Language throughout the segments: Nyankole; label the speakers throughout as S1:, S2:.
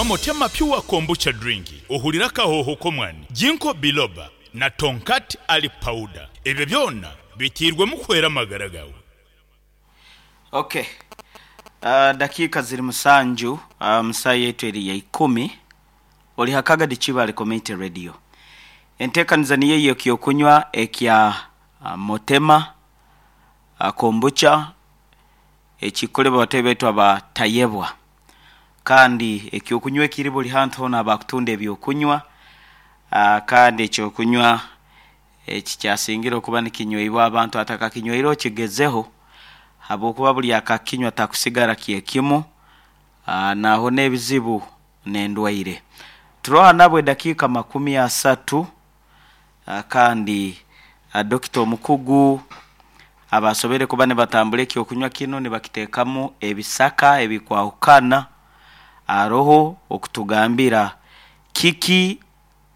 S1: Nywa Motema Pure Kombucha Drink ohurire akahooho k'omwani, Ginkgo Biloba na Tongkat Ali Powder. Ebyo byona biteirwemu kuhwera amagara gaawe.
S2: Ok. Dakiika ziri musanju mu saaha yaitu eri ya ikumi. Ori ha Kagadi Kibaale Community Radio. Enteekaniza niyo eyo eky'okunywa ekya Motema Kombucha ekikukolebwa bataahi baitu aba Tayebwa. Kandi eky'okunywa ekiri buri hantu hoona abakutunda eby'okunywa kandi eky'okunywa eki kyasingire okuba nikinyweibwa abantu atakakinyweire okigezeho habwokuba buri akakinywa takusigara kyekimu nahona ebizibu n'endwaire. Turoha nabo edakiika makumi asatu kandi dokita omukugu abasoboire kuba nibatambura eky'okunywa kinu nibakiteekamu ebisaka ebikwahukana aroho okutugambira kiki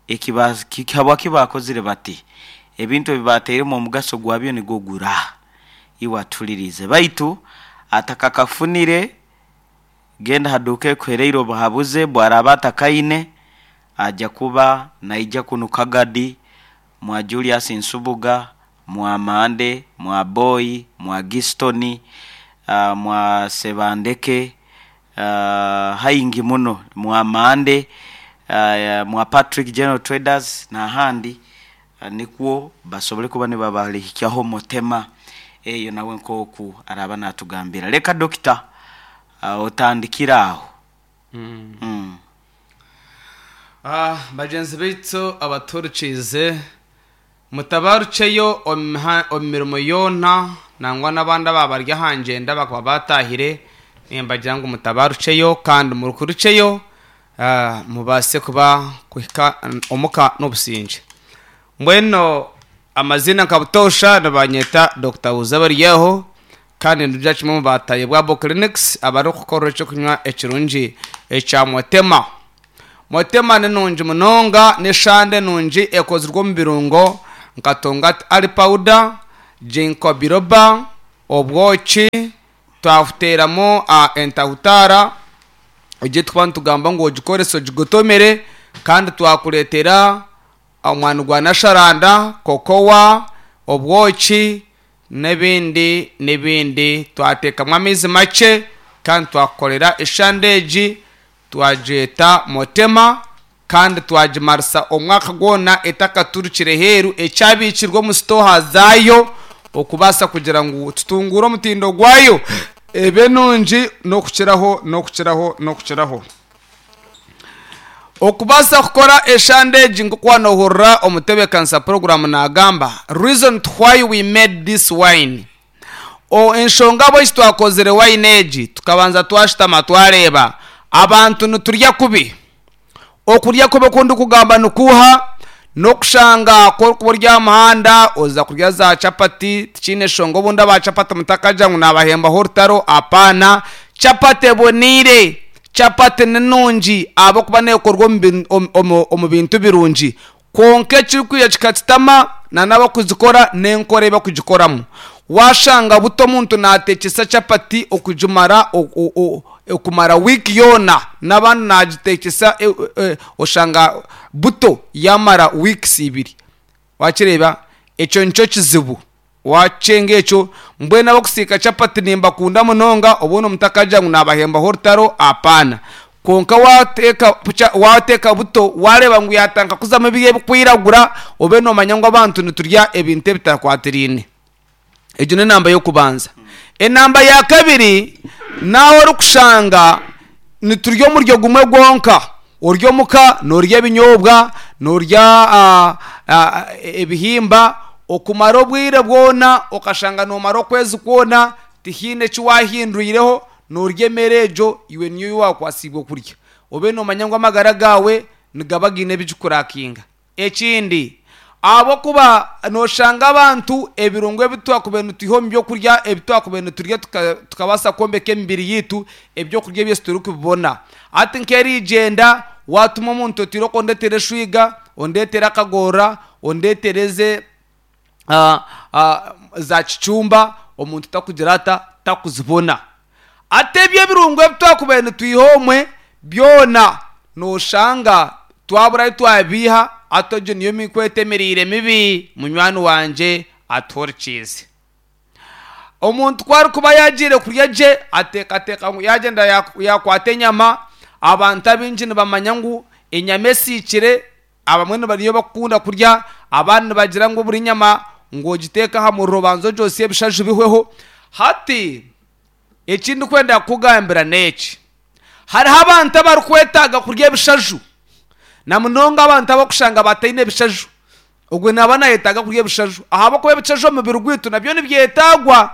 S2: eki habwaki baakozire bati ebintu ebi baatairemu omugaso gwabyo nigwo gura. Iwe atuhuririize baitu atakakafunire Genda ha duuka ekuhereire obuhabuzi bwaraaba atakaine, aja kuba naija kunu Kagadi, mwa Julius Nsubuga, mwa Mande, mwa Boyi, mwa Gistoni, mwa Sebandeke, haingi muno, mwa Mande, mwa Patrick General Traders n'ahandi nikwo basobole kuba nibabarihikyaho Mutema eyo nawe nk'oku araaba natugambira. Leka Dokita Otandikire aho.
S3: Bagyenzi baitu abatuhurikiize, mutabarukyeyo omu mirimo yoona nangwa n'abandi abaaba bari aha ngyenda bakaba baataahire, nimbagira ngu mutabarukyeyo kandi mukurukyeyo mubaase kuba kuhika omuka n'obusingye. Mbwenu amaziina nka butoosha nibanyeta Dokita Wuzabaryaho. Kandi nitugira kimwe omu bataahi bwa Abo Clinics abarikukorera eky'okunywa ekirungi ekya Motema. Motema ni nungi munonga, n'eshande nungi ekozirwe omu birungo nka Tongkat Ali Powder, Ginkgo Biloba, obwoki, twahuteeramu entahutaara egi ei turikuba nitugamba ngu ogikorese ogigotomere kandi twakureetera omwani gwa nasharanda, kokowa, obwoki, n'ebindi n'ebindi. Twateekamu amaizi makye kandi twakukorera eshande egi twagyeta Motema kandi twagimarisa omwaka gwona etakaturukire heeru ekyabiikirwe omu sitooha zaayo okubaasa kugira ngu tutunguure omutindo gwayo ebe nungi n'okukiraho n'okukiraho n'okukiraho. Okubaasa kukora eshande egi nk'oku waanohurira omutebeekanisa puroguraamu naagamba, Reason to why we made this wine. O, enshonga ahabw'enki twakozire wine egi, tukabanza twashutama twareeba abantu niturya kubi. Okurya kubi oku ndikugamba nikuuha? N'okushanga ku orikuba ori aha muhanda oza kurya za chapati, tikiine nshonga obundi aba chapati mutakagira ngu naabahembaho orutaro, apaana. Chapati eboneire. Chapati ni nungi ahabw'okuba neekorwa omu bintu birungi, kwonka ekirikwija kikakitama n'abarikuzikora n'enkora ei barikugikoramu. Waashanga buti omuntu naateekyesa chapati okugimara okumara wiiki yoona n'abandi naagiteekyesa oshanga buto yaamara wiikisi ibiri. Waakireeba? Ekyo nikyo kizibu. Waakyenga ekyo, mbwenu abarikusiika chapati nimbakunda munonga, obundi mutakagira ngu naabahembaho orutaro, apaana. Kwonka waateeka waateeka buto, waareeba ngu yaatandika kuzamu ebiri ebirikwiragura, obe noomanya ngu abantu niturya ebintu ebitakwatiraine. Egyo n'enamba y'okubanza. Enamba ya kabiri, n'ahu orikushanga niturya omuryo gumwe gwonka. Ori omuka noorya ebinyobwa, noorya ebihimba okumara obwire bwona okashanga noomara okwezi kwona tihaine eki waahindwireho, noorya emere egyo iwe niyo ei waakwatsiibwe kurya. Obe noomanya ngu amagara gaawe nigaba gaine ebi gikurakinga. Ekindi, ahabw'okuba nooshanga abantu ebirungo ebi twakubaire nitwiha omu by'okurya ebi twakubaire niturya tukabaasa kwombeka emibiri yaitu, eby'okurya ebyo titurikubibona. Hati nk'eriigyenda, waatuma omuntu oti irooko ondeetere eshwiga, ondeetere akagorora, ondeetere eze za kicumba, omuntu takugira ata, takuzibona. Hati ebyo ebirungo ebi twakubaire nitwiha omwe byona. Noshanga twabura ahi twabiiha hati egyo niyo mikwete emiriire mibi munywani wangye atuhurikiize. Omuntu ku arikuba yaagiire kurya gye ateekateeka ngu yaagyenda yaakwata enyama, abantu abaingi nibamanya ngu enyama esiikire abamwe niyo barikukunda kurya, abandi nibagira ngu buri nyama ngu ogiteeke aha muriro obanze ogyotsye ebishaju bihweho. Hati eki ndikwenda kukugambira n'eki, Hariho abantu abarikwetaaga kurya ebishaju, na munonga abantu abarikushanga bataine bishaju. Ogwo naaba naayetaaga kurya ebishaju ahabw'okuba ebishaju omu mubiri gwaitu nabyo nibyetaagwa.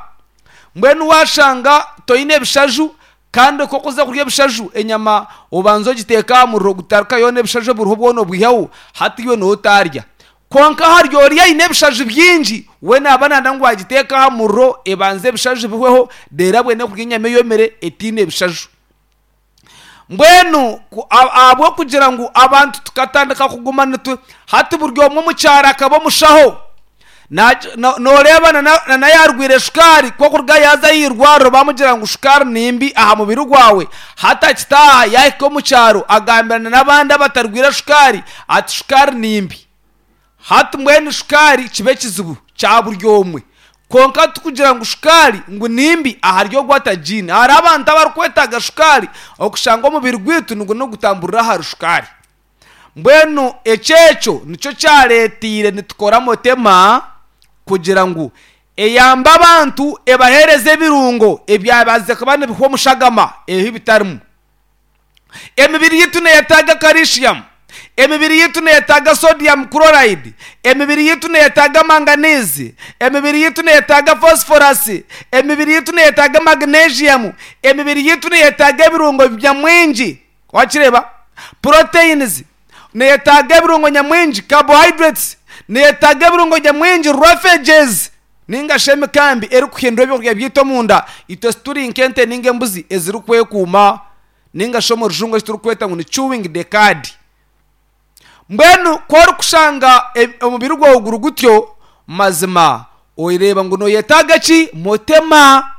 S3: Mbwenu waashanga toine bishaju kandi ku orikuza kurya ebishaju enyama obanze ogiteeke aha muriro gutaruka yoona ebishaju ebiriho byona obiiheho, hati iwe nooba otaarya. Kwonka hari oriya aine ebishaju bingi, we naaba naayenda ngu agiteeke aha muriro ebanze ebishaju bihweho, reero abone kurya enyama eyomire etaine bishaju. Mbwenu ahabw'okugira ngu abantu tukatandika kuguma nitu hati buri omwe omu kyaro akaba omushaho, nooreeba na yaarwaire shukaari ku okuruga yaaza aha irwariro baamugira ngu shukaari ni mbi aha mubiri gwawe, hati akitaaha yaahika omu kyaro agambirana n'abandi abatarwaire shukaari ati shukaari ni mbi. Hati mbwenu shukaari kiba ekizibu kya buri omwe. Kwonka tikugira ngu shukaari ngu ni mbi ahari ogwo atagiine. Hariho abantu abarikwetaaga shukaari okushanga omubiri gwaitu nigwo nigutamburira ahari shukaari. Mbwenu ekyo ekyo nikyo kyareeteire nitukora Motema kugira ngu eyambe abantu ebaheereze ebirungo ebyabazize kuba nibihwa omu shagama ebi bitarimu. Emibiri yaitu neeyetaaga calcium, emibiri yaitu neeyetaaga sodium chloride, emibiri yaitu neeyetaaga manganese, emibiri yaitu neeyetaaga phosphorus, emibiri yaitu neeyetaaga magnesium, emibiri yaitu neeyetaaga ebirungo nyamwingi. Wakireeba? Proteins, neeyetaaga ebirungo nyamwingi, carbohydrates, neeyetaaga ebirungo nyamwingi, roughages, Nainga shi emikambi erikuhindura ebyokurya byaitu omunda, itwe tituri nk'ente nainga embuzi ezirikwekuuma, nainga shi omu rujungu eki turikweta ngu ni chewing the cud. Mbwenu ku orikushanga omubiri gwawe guri gutyo, mazima oreeba ngu noyetaaga ki? Motema.